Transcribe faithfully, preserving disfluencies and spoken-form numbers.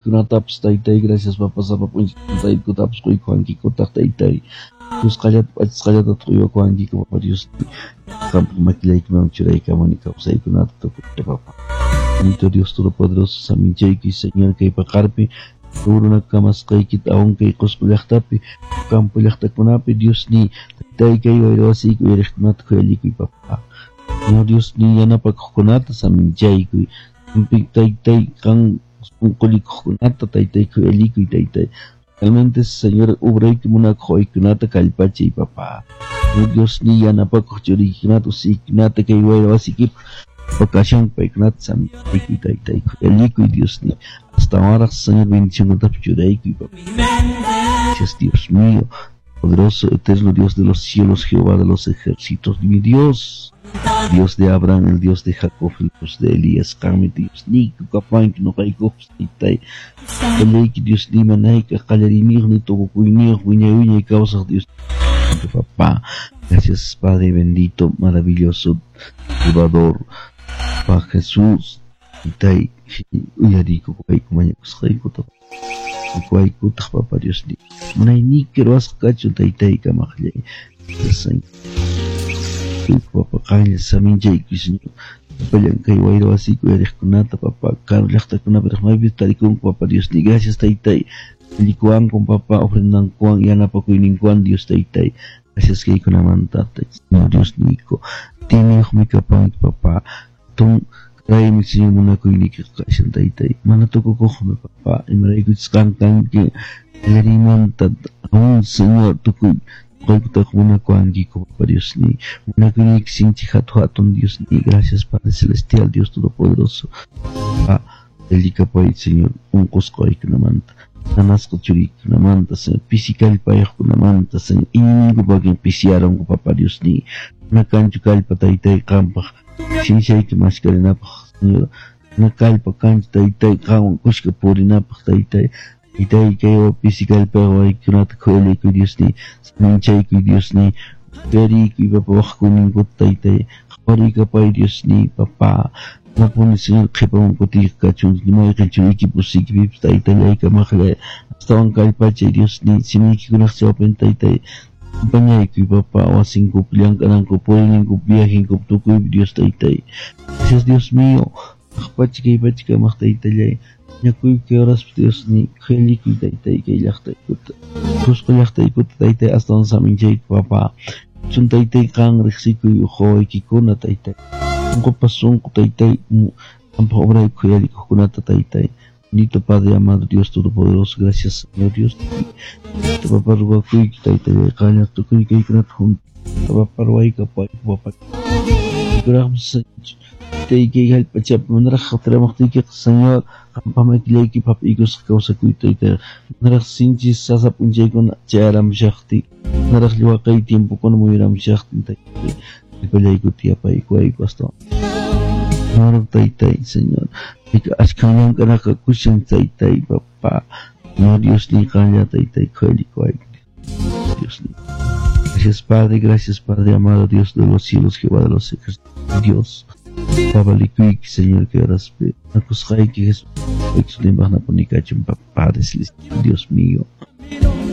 Kunatapas taytay, gracias papa sapa p'unchay taytaykutapas quykuwankikutaq taytay. Kusqallata p'achisqallataq uywakuwankiku papa Dios. Qampaq makillaykiman churaykamuni kawsaykunata tukuyta papa. Bendito Dios Todopoderoso, saminchayki Señor kay paqarpi runa kamasqaykita aún kay Qusqu llaqtapi campo llaqtakunapi Dios ni taytay kay wayra wasiyki uyariqkunata khuyallikuy papa. Señor Dios ni yanapakuqkunata saminchaykuy. Taytay qan sunqullikuqkunata taytay khuyallikuy taytay. Realmente Señor ubrayki munakuq waykunata kallpachay papa. Señor Dios ni yanapakuq churiykikunata usiykikunata kay wayra wasiykipaq ocasión paykunata saminchaykuy taytay khuyallikuy Dios ni. Hasta ahora Señor bendición churaykuy papá. Gracias Dios mío, poderoso, eterno Dios de los cielos, Jehová de los ejércitos, mi Dios, Dios de Abraham, el Dios de Jacob, el Dios de Elías, qanmi Dios niyku kapanki nuqaykuq taytay, qallayki Dios ni manayka qallariyniyuq ni tukukuyniyuq wiñay wiñay kawsaq Dios papá. Gracias Padre bendito, maravilloso, Salvador, Papá Jesús, taytay, uyariykuwayku mañakusqaykuta waykutaq Papa Dios ni munayniyki ruwasqa kachun taytay kamaqllay. Papa qanlla saminchayki Señor sapallan kay wayra wasiyki uyariqkunata Papa karu llaqtakunapi maypi tarikunku Papa Dios ni gracias taytay allikuwanku Papa ofrendankuwan yanapakuyninkuwan Dios taytay gracias kaykunamanta Señor Dios niyku tiniyuqmi kapanki Papa hatun Raymi Señor munakuyniyki kashan taytay mana tukukuqmi Papa imaraykuchus qan kanki qallariymanta aún Señor tukuy nuqaykutaq munakuwankiku Papa Dios ni munakuyniyki sinchi hatun hatun Dios ni gracias Padre Celestial Dios Todopoderoso Papa allikapay Señor unqusqa waykunamanta nanasqa churiykunamanta Señor pisi kallpayuqkunamanta Señor iñiyninkupakin pisiyarunku Papa Dios ni mana kanchu kallpa taytay qampaq sinchayki maskarinapaq Señor mana kallpa kanchu taytay qanwan kushka purinapaq taytay taytay kay pisi kallpayuq waykunata khuyalikuy Dios ni saminchaykuy Dios ni uyariykuy papa waqkuyninkuta taytay qhawarikapay Dios ni papa Manapuni Señor qhipaman kutiyqa kachun mayqin churiykipi usiykipipas taytallay kamaqllay astawan kallpachay Dios ni simiykikunaq chawpin taytay acompañaykuy papa wasinkupi llank'anankupi puriyninkupi viajenkupi tukuypi Dios taytay gracias Dios mío kaq kay pacha kamaq taytallay mañakuyki horaspi Dios ni khuyallikuy taytay kay llaqtaykuta Qusqu llaqtaykuta taytay astawan saminchayku papa chun taytay qan riqsikuy wawaykikuna taytay sunqupas sunqu taytay qampaq obrayku khuyallikuqkunata taytay bendito Padre amado Dios Todopoderoso gracias Señor Dios papa ruwakuyki taytallay qanlla tukuy kaykunata papa ruwaykapayku papa kuraqmi taytay hallp'achapi manaraq hataramaqtiykiqa Señor qampaq makillaykipi hap'iykusqa kawsakuy taytay manaraq sinchi sasa p'unchaykuna chayaramushaqtin manaraq waqay tiempokuna muyuramushaqtin taytay kallpallaykuta yapaykuwayku astawan Señor taytay Señor achkan llank'anaqa kushan taytay papa Señor Dios ni qanlla taytay khuyallikuwayku Dios ni gracias Padre, gracias Padre amado Dios de los cielos, Jehová de los ejércitos, Dios Papalikuyki Señor que horaspi nakusqayki Jesús Padre Celestial, Dios mío.